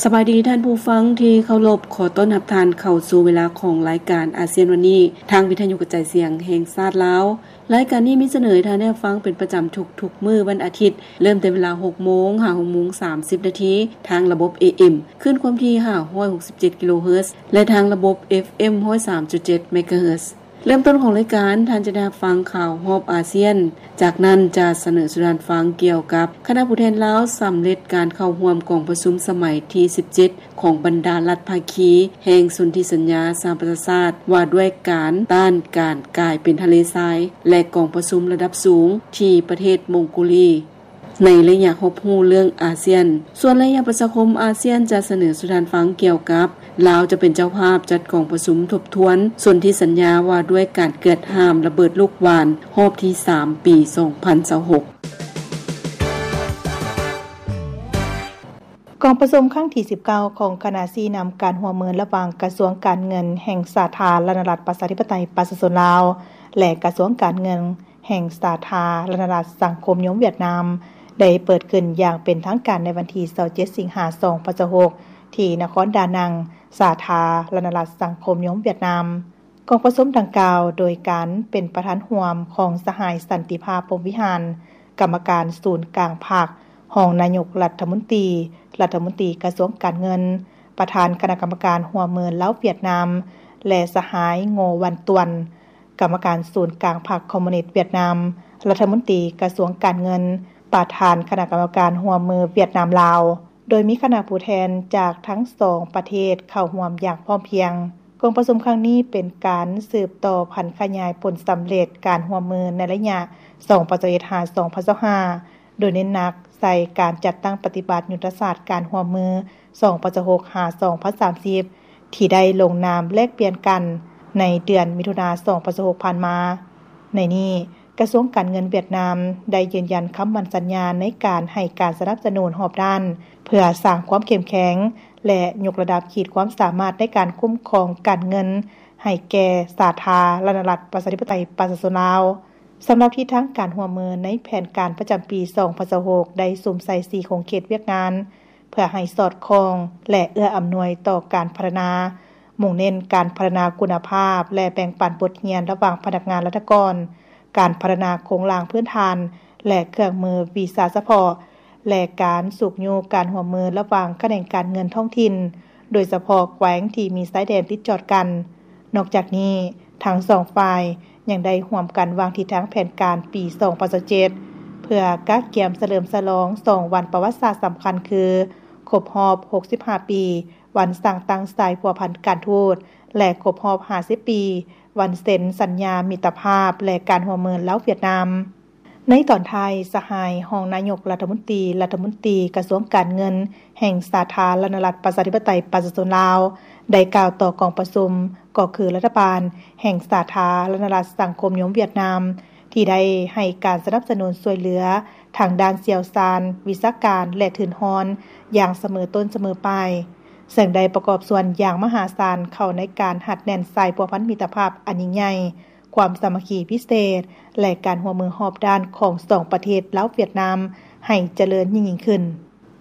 ສະບາຍດີທ່ານຜູ້ຟັງທີ່ເຄົາລົບ, ຂໍຕ້ອນຮັບທ່ານເຂົ້າສູ່ເວລາຂອງລາຍການອາຊຽນວັນນີ້ ທາງວິທະຍຸກະຈາຍສຽງແຫ່ງຊາດລາວ. ລາຍການນີ້ມີສະເໜີໃຫ້ທ່ານໄດ້ຮັບຟັງເປັນປະຈຳທຸກໆມື້ວັນອາທິດ, ເລີ່ມແຕ່ເວລາຫົກໂມງຫາຫົກໂມງສາມສິບນາທີ ທາງລະບົບ ເອເອັມ ຄື້ນຄວາມຖີ່ຫ້າຮ້ອຍຫົກສິບເຈັດກິໂລເຮີດ ແລະ ທາງລະບົບ ເອຟເອັມ ຮ້ອຍສາມຈຸດເຈັດເມກາເຮີດ. ເລີ່ມຕົ້ນຂອງລາຍການ, ທ່ານຈະໄດ້ຮັບຟັງຂ່າວຮອບອາຊຽນ. ຈາກນັ້ນຈະສະເໜີສູ່ທ່ານຟັງກ່ຽວກັບຄະນະຜູ້ແທນລາວສຳເລັດການເຂົ້າຮ່ວມກອງປະຊຸມສະໄໝທີສິບເຈັດ ຂອງບັນດາລັດພາຄີແຫ່ງສົນທິສັນຍາສະຫະປະຊາຊາດ ວ່າດ້ວຍການຕ້ານການກາຍເປັນທະເລຊາຍ ແລະ ກອງປະຊຸມລະດັບສູງທີ່ປະເທດມົງໂກລີ ໃນໄລຍະຮອບຮູ້ເລື່ອງອາຊຽນ. ສ່ວນໄລຍະປະຊາຄົມອາຊຽນຈະສະເໜີສູ່ທ່ານຟັງກ່ຽວກັບ ລາວຈະເປັນເຈົ້າພາບຈັດກອງປະຊຸມທົບທວນສົນທິສັນຍາວ່າດ້ວຍການເກືອດຫ້າມລະເບີດລູກຫວ່ານຮອບທີສາມ ປີສອງພັນຊາວຫົກ. ກອງປະຊຸມຄັ້ງທີສິບເກົ້າຂອງຄະນະຊີ້ນຳການຮ່ວມມືລະຫວ່າງກະຊວງການເງິນແຫ່ງສາທາລະນະລັດປະຊາທິປະໄຕປະຊາຊົນລາວ ແລະ ກະຊວງການເງິນ ແຫ່ງສາທາລະນະລັດສັງຄົມນິຍົມຫວຽດນາມ ໄດ້ເປີດຂຶ້ນຢ່າງເປັນທາງການໃນວັນທີຊາວເຈັດ ສິງຫາ ສອງພັນຊາວຫົກ ທີ່ນະຄອນດານັງ, ສາທາລະນະລັດສັງຄົມນິຍົມຫວຽດນາມ. ກອງປະຊຸມດັ່ງກ່າວ ໂດຍການເປັນປະທານຮ່ວມຂອງສະຫາຍ ສັນຕິພາບ ພົມວິຫານ, ກຳມະການສູນກາງພັກ, ຮອງນາຍົກລັດຖະມົນຕີ, ລັດຖະມົນຕີກະຊວງການເງິນ, ປະທານຄະນະກຳມະການຮ່ວມມືລາວ-ຫວຽດນາມ ແລະ ສະຫາຍ ໂງ ວັນຕວນ, ກຳມະການສູນກາງພັກຄອມມູນິດຫວຽດນາມ, ລັດຖະມົນຕີກະຊວງການເງິນ, ປະທານຄະນະກຳມະການຮ່ວມມືຫວຽດນາມ-ລາວ, ໂດຍມີຄະນະຜູ້ແທນຈາກທັງສອງປະເທດເຂົ້າຮ່ວມຢ່າງພ້ອມພຽງ. ກອງປະຊຸມຄັ້ງນີ້ເປັນການສືບຕໍ່ຜັນຂະຫຍາຍຜົນສຳເລັດການຮ່ວມມືໃນໄລຍະ ສອງພັນຊາວເອັດ ຫາ ສອງພັນຊາວຫ້າ ໂດຍເນັ້ນໜັກໃສ່ການຈັດຕັ້ງປະຕິບັດຍຸດທະສາດການຮ່ວມມື ສອງພັນຊາວຫົກ ຫາ ສອງພັນສາມສິບ ທີ່ໄດ້ລົງນາມແລກປ່ຽນກັນໃນເດືອນມິຖຸນາ ສອງພັນຊາວຫົກ ຜ່ານມາ. ໃນນີ້, ກະຊວງການເງິນຫວຽດນາມໄດ້ຢືນຢັນຄຳໝັ້ນສັນຍາໃນການໃຫ້ການສະໜັບສະໜູນຮອບດ້ານ ເພື່ອສ້າງຄວາມເຂັ້ມແຂງ ແລະ ຍົກລະດັບຂີດຄວາມສາມາດໃນການຄຸ້ມຄອງການເງິນໃຫ້ແກ່ສາທາລະນະລັດປະຊາທິປະໄຕປະຊາຊົນລາວ. ສຳລັບທິດທາງການຮ່ວມມືໃນແຜນການປະຈຳປີ ສອງພັນຊາວຫົກ ໄດ້ສຸມໃສ່ສີ່ຂົງເຂດວຽກງານ ເພື່ອໃຫ້ສອດຄ່ອງ ແລະ ເອື້ອອຳນວຍຕໍ່ການພັດທະນາ, ມຸ່ງເນັ້ນການພັດທະນາຄຸນນະພາບ ແລະ ແບ່ງປັນບົດຮຽນລະຫວ່າງພະນັກງານລັດຖະກອນ, ການພັດທະນາໂຄງລ່າງພື້ນຖານ ແລະ ເຄື່ອງມືວີຊາສະເພາະ ແລະ ການຊຸກຍູ້ການຮ່ວມມືລະຫວ່າງຂະແໜງການເງິນທ້ອງຖິ່ນ, ໂດຍສະເພາະແຂວງທີ່ມີຊາຍແດນຕິດຈອດກັນ. ນອກຈາກນີ້, ທັງສອງຝ່າຍຍັງໄດ້ຮ່ວມກັນວາງທິດທາງແຜນການປີສອງພັນຊາວເຈັດ ເພື່ອກະກຽມສະເຫຼີມສະຫຼອງສອງວັນປະຫວັດສາດສຳຄັນຄື ຄົບຮອບຫົກສິບຫ້າປີ ວັນສ້າງຕັ້ງສາຍພົວພັນການທູດ ແລະ ຄົບຮອບຫ້າສິບປີ ວັນເຊັນສັນຍາມິດຕະພາບ ແລະ ການຮ່ວມມືລາວ-ຫວຽດນາມ. ໃນຕອນທ້າຍ, ສະຫາຍຮອງນາຍົກລັດຖະມົນຕີ, ລັດຖະມົນຕີກະຊວງການເງິນແຫ່ງສາທາລະນະລັດປະຊາທິປະໄຕປະຊາຊົນລາວ ໄດ້ກ່າວຕໍ່ກອງປະຊຸມ ກໍຄືລັດຖະບານແຫ່ງສາທາລະນະລັດສັງຄົມນິຍົມຫວຽດນາມ ທີ່ໄດ້ໃຫ້ການສະໜັບສະໜູນຊ່ວຍເຫຼືອທາງດ້ານຊ່ຽວຊານ, ວິຊາການ ແລະ ທຶນຮອນຢ່າງສະເໝີຕົ້ນສະເໝີປາຍ, ເຊິ່ງໄດ້ປະກອບສ່ວນຢ່າງມະຫາສານເຂົ້າໃນການຮັດແໜ້ນສາຍພົວພັນມິດຕະພາບອັນຍິ່ງໃຫຍ່, ຄວາມສາມັກຄີພິເສດ ແລະ ການຮ່ວມມືຮອບດ້ານຂອງສອງປະເທດລາວ-ຫວຽດນາມ ໃຫ້ຈະເລີນຍິ່ງໆຂຶ້ນ.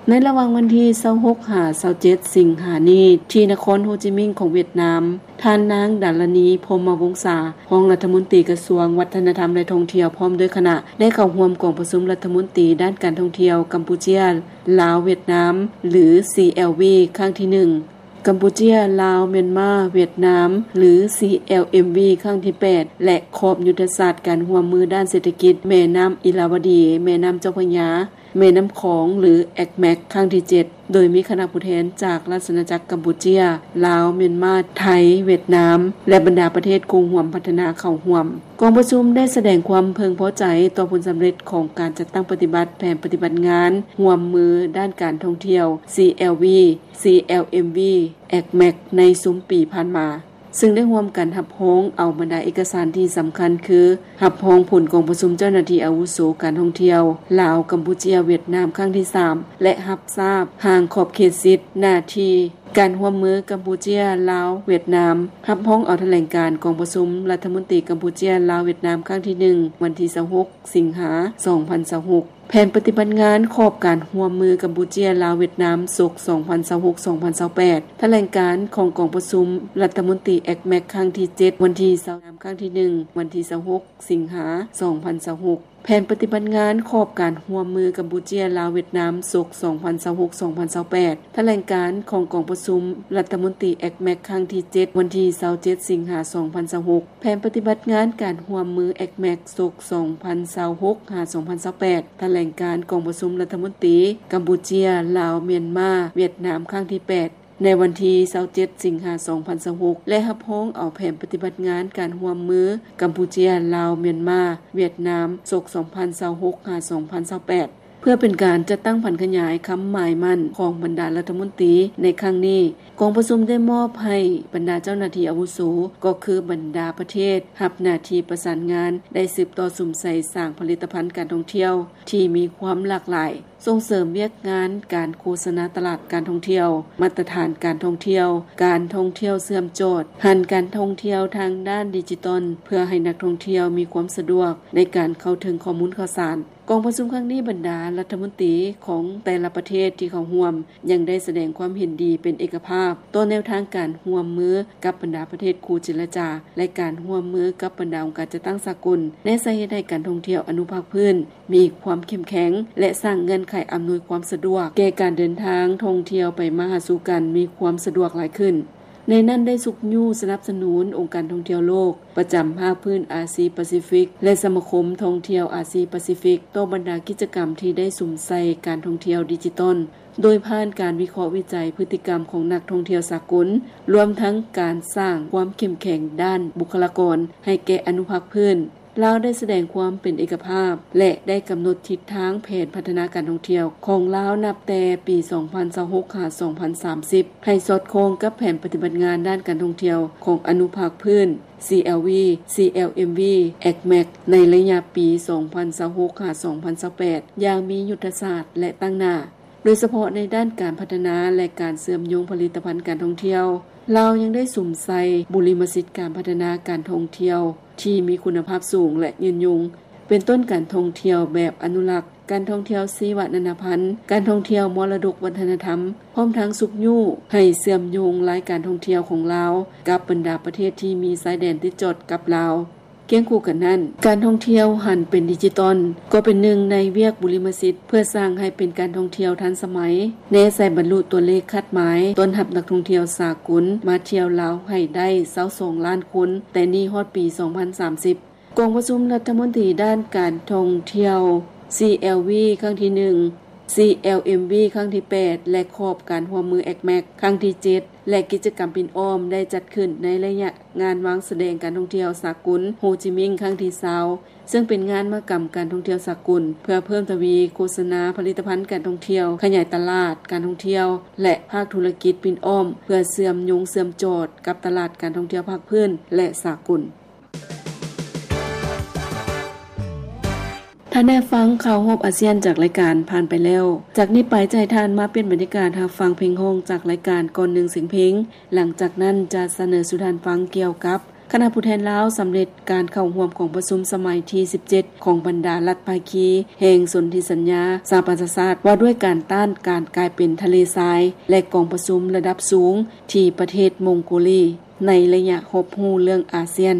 ໃນລະຫວ່າງວັນທີຊາວຫົກ ຫາ ຊາວເຈັດ ສິງຫານີ້ ທີ່ນະຄອນໂຮຈິມິນຂອງຫວຽດນາມ, ທ່ານນາງ ດາລານີ ພົມມະວົງສາ ຮອງລັດຖະມົນຕີກະຊວງວັດທະນະທຳ ແລະ ທ່ອງທ່ຽວ ພ້ອມດ້ວຍຄະນະ ໄດ້ເຂົ້າຮ່ວມກອງປະຊຸມລັດຖະມົນຕີດ້ານການທ່ອງທ່ຽວ ກຳປູເຈຍ ລາວ ຫວຽດນາມ ຫຼື ຊີແອລວີ ຄັ້ງທີໜຶ່ງ, ກຳປູເຈຍ ລາວ ມຽນມາ ຫວຽດນາມ ຫຼື ຊີແອລເອັມວີ ຄັ້ງທີແປດ ແລະ ຂອບຍຸດທະສາດການຮ່ວມມືດ້ານເສດຖະກິດ ແມ່ນ້ຳອິລາວະດີ, ແມ່ນ້ຳເຈົ້າພະຍາ, ແມ່ນ້ຳຂອງ ຫຼື ເອັກແມັກ ຄັ້ງທີເຈັດ ໂດຍມີຄະນະຜູ້ແທນຈາກລາຊະອານາຈັກກຳປູເຈຍ, ລາວ, ມຽນມາ, ໄທ, ຫວຽດນາມ ແລະ ບັນດາປະເທດຄູ່ຮ່ວມພັດທະນາເຂົ້າຮ່ວມ. ກອງປະຊຸມໄດ້ສະແດງຄວາມເພິ່ງພໍໃຈຕໍ່ຜົນສຳເລັດຂອງການຈັດຕັ້ງປະຕິບັດແຜນປະຕິບັດງານຮ່ວມມືດ້ານການທ່ອງທ່ຽວ ຊີແອລວີ, ຊີແອລເອັມວີ, ເອັກແມັກ ໃນຊຸມປີຜ່ານມາ. ເຊິ່ງໄດ້ຮ່ວມກັນຮັບຮອງເອົາບັນດາເອກະສານທີ່ສຳຄັນຄື ຮັບຮອງຜົນກອງປະຊຸມເຈົ້າໜ້າທີ່ອາວຸໂສການທ່ອງທ່ຽວ ລາວ, ກຳປູເຈຍ, ຫວຽດນາມ ຄັ້ງທີສາມ ແລະ ຮັບຊາບຮ່າງຂອບເຂດສິດ, ໜ້າທີ່, ການຮ່ວມມືກຳປູເຈຍ ລາວ ຫວຽດນາມ ຮັບຮອງເອົາຖະແຫຼງການກອງປະຊຸມລັດຖະມົນຕີກຳປູເຈຍ ລາວ ຫວຽດນາມ ຄັ້ງທີໜຶ່ງ ວັນທີຊາວຫົກ ສິງຫາ ສອງພັນຊາວຫົກ. ແຜນປະຕິບັດງານຂອບການຮ່ວມມືກຳປູເຈຍ ລາວ ຫວຽດນາມ ສົກ ສອງພັນຊາວຫົກ ສອງພັນຊາວແປດ, ຖະແຫຼງການຂອງກອງປະຊຸມລັດຖະມົນຕີ ເອັກແມັກ ຄັ້ງທີເຈັດ ວັນທີຊາວ ຄັ້ງທີໜຶ່ງ ວັນທີຊາວຫົກ ສິງຫາ ສອງພັນຊາວຫົກ. ແຜນປະຕິບັດງານຂອບການຮ່ວມມືກຳປູເຈຍ ລາວ ຫວຽດນາມ ສົກ ສອງພັນຊາວຫົກ ສອງພັນຊາວແປດ, ຖະແຫຼງການຂອງກອງປະຊຸມລັດຖະມົນຕີ ເອັກແມັກ ຄັ້ງທີເຈັດ ວັນທີຊາວເຈັດ ສິງຫາ ສອງພັນຊາວຫົກ. ແຜນປະຕິບັດງານການຮ່ວມມື ເອັກແມັກ ສົກ ສອງພັນຊາວຫົກ ຫາ ສອງພັນຊາວແປດ, ຖະແຫຼງການກອງປະຊຸມລັດຖະມົນຕີກຳປູເຈຍ ລາວ ມຽນມາ ຫວຽດນາມ ຄັ້ງທີແປດ ໃນວັນທີຊາວເຈັດ ສິງຫາ ສອງພັນຊາວຫົກ ແລະ ຮັບຮອງເອົາແຜນປະຕິບັດງານການຮ່ວມມືກຳປູເຈຍ ລາວ ມຽນມາ ຫວຽດນາມ ສົກ ສອງພັນຊາວຫົກ ຫາ ສອງພັນຊາວແປດ. ເພື່ອເປັນການຈັດຕັ້ງຜັນຂະຫຍາຍຄຳໝາຍໝັ້ນຂອງບັນດາລັດຖະມົນຕີໃນຄັ້ງນີ້, ກອງປະຊຸມໄດ້ມອບໃຫ້ບັນດາເຈົ້າໜ້າທີ່ອາວຸໂສ ກໍຄືບັນດາປະເທດຮັບໜ້າທີ່ປະສານງານ ໄດ້ສືບຕໍ່ສຸມໃສ່ສ້າງຜະລິດຕະພັນການທ່ອງທ່ຽວທີ່ມີຄວາມຫຼາກຫຼາຍ, ສົ່ງເສີມວຽກງານການໂຄສະນາຕະຫຼາດການທ່ອງທ່ຽວ, ມາດຕະຖານການທ່ອງທ່ຽວ, ການທ່ອງທ່ຽວເຊື່ອມຈອດ, ຫັນການທ່ອງທ່ຽວທາງດ້ານດິຈິຕອນ ເພື່ອໃຫ້ນັກທ່ອງທ່ຽວມີຄວາມສະດວກໃນການເຂົ້າເຖິງຂໍ້ມູນຂ່າວສານ. ກອງປະຊຸມຄັ້ງນີ້ ບັນດາລັດຖະມົນຕີຂອງແຕ່ລະປະເທດທີ່ເຂົ້າຮ່ວມ ຍັງໄດ້ສະແດງຄວາມເຫັນດີເປັນເອກະພາບຕໍ່ແນວທາງການຮ່ວມມືກັບບັນດາປະເທດຄູ່ເຈລະຈາ ແລະ ການຮ່ວມມືກັບບັນດາອົງການຈັດຕັ້ງສາກົນ, ແນໃສ່ເຮັດໃຫ້ການທ່ອງທ່ຽວອະນຸພາກພື້ນມີຄວາມເຂັ້ມແຂງ ແລະ ສ້າງເງື່ອນໄຂອຳນວຍຄວາມສະດວກແກ່ການເດີນທາງທ່ອງທ່ຽວໄປມາຫາສູ່ກັນມີຄວາມສະດວກຫຼາຍຂຶ້ນ. ໃນນັ້ນໄດ້ຊຸກຍູ້ສະໜັບສະໜູນອົງການທ່ອງທ່ຽວໂລກປະຈຳພາກພື້ນອາຊີປາຊີຟິກ ແລະ ສະມາຄົມທ່ອງທ່ຽວອາຊີປາຊີຟິກ ຕໍ່ບັນດາກິດຈະກຳທີ່ໄດ້ສຸມໃສ່ການທ່ອງທ່ຽວດິຈິຕອນ ໂດຍຜ່ານການວິເຄາະວິໄຈພຶດຕິກຳຂອງນັກທ່ອງທ່ຽວສາກົນ, ລວມທັງການສ້າງຄວາມເຂັ້ມແຂງດ້ານບຸກຄະລາກອນໃຫ້ແກ່ອະນຸພາກພື້ນ. ລາວໄດ້ສະແດງຄວາມເປັນເອກະພາບ ແລະ ໄດ້ກຳນົດທິດທາງແຜນພັດທະນາການທ່ອງທ່ຽວຂອງລາວນັບແຕ່ປີສອງພັນຊາວຫົກ ຫາ ສອງພັນສາມສິບ ໃຫ້ສອດຄ່ອງກັບແຜນປະຕິບັດງານດ້ານການທ່ອງທ່ຽວຂອງອະນຸພາກພື້ນ ຊີແອລວີ ຊີແອລເອັມວີ ເອັກແມັກ ໃນໄລຍະປີສອງພັນຊາວຫົກ ຫາ ສອງພັນຊາວແປດ ຢ່າງມີຍຸດທະສາດ ແລະ ຕັ້ງໜ້າ. ໂດຍສະເພາະໃນດ້ານການພັດທະນາ ແລະ ການເຊື່ອມໂຍງຜະລິດຕະພັນການທ່ອງທ່ຽວ, ລາວຍັງໄດ້ສຸມໃສ່ບຸລິມະສິດການພັດທະນາການທ່ອງທ່ຽວທີ່ມີຄຸນນະພາບສູງ ແລະ ຍືນຍົງ, ເປັນຕົ້ນການທ່ອງທ່ຽວແບບອະນຸລັກ, ການທ່ອງທ່ຽວຊີວະນານາພັນ, ການທ່ອງທ່ຽວມໍລະດົກວັດທະນະທຳ, ພ້ອມທັງຊຸກຍູ້ໃຫ້ເຊື່ອມໂຍງລາຍການທ່ອງທ່ຽວຂອງລາວກັບບັນດາປະເທດທີ່ມີຊາຍແດນຕິດຈອດກັບລາວ. ຄຽງຄູ່ກັນນັ້ນ, ການທ່ອງທ່ຽວຫັນເປັນດິຈິຕອນ ກໍເປັນໜຶ່ງໃນວຽກບຸລິມະສິດ ເພື່ອສ້າງໃຫ້ເປັນການທ່ອງທ່ຽວທັນສະໄໝ, ແນໃສ່ບັນລຸຕົວເລກຄາດໝາຍຕ້ອນຮັບນັກທ່ອງທ່ຽວສາກົນມາທ່ຽວລາວໃຫ້ໄດ້ຊາວສອງລ້ານຄົນ ແຕ່ນີ້ຮອດປີສອງພັນສາມສິບ. ກອງປະຊຸມລັດຖະມົນຕີດ້ານການທ່ອງທ່ຽວ ຊີແອລວີ ຄັ້ງທີໜຶ່ງ, ຊີແອລເອັມວີ ຄັ້ງທີແປດ ແລະ ຂອບການຮ່ວມມື ເອັກແມັກ ຄັ້ງທີເຈັດ ແລະ ກິດຈະກຳປິ່ນອ້ອມໄດ້ຈັດຂຶ້ນໃນໄລຍະງານວາງສະແດງການທ່ອງທ່ຽວສາກົນໂຮຈິມິງຄັ້ງທີຊາວ ເຊິ່ງເປັນງານມະຫະກຳການທ່ອງທ່ຽວສາກົນ ເພື່ອເພີ່ມທະວີໂຄສະນາຜະລິດຕະພັນການທ່ອງທ່ຽວ, ຂະຫຍາຍຕະຫຼາດການທ່ອງທ່ຽວ ແລະ ພາກທຸລະກິດປິ່ນອ້ອມ ເພື່ອເຊື່ອມໂຍງເຊື່ອມຈອດກັບຕະຫຼາດການທ່ອງທ່ຽວພາກພື້ນ ແລະ ສາກົນ. ທ່ານໄດ້ຟັງຂ່າວຮອບອາຊຽນຈາກລາຍການຜ່ານໄປແລ້ວ. ຈາກນີ້ໄປຈະໃຫ້ທ່ານມາປ່ຽນບັນຍາກາດຮັບຟັງເພງຮ້ອງຈາກລາຍການກ່ອນໜຶ່ງສຽງເພງ. ຫຼັງຈາກນັ້ນຈະສະເໜີສູ່ທ່ານຟັງກ່ຽວກັບຄະນະຜູ້ແທນລາວສຳເລັດການເຂົ້າຮ່ວມກອງປະຊຸມສະໄໝທີສິບເຈັດ ຂອງບັນດາລັດພາຄີແຫ່ງສົນທິສັນຍາສະຫະປະຊາຊາດ ວ່າດ້ວຍການຕ້ານການກາຍເປັນທະເລຊາຍ ແລະ ກອງປະຊຸມລະດັບສູງທີ່ປະເທດມົງໂກລີ ໃນໄລຍະຮອບຮູ້ເລື່ອງອາຊຽນ.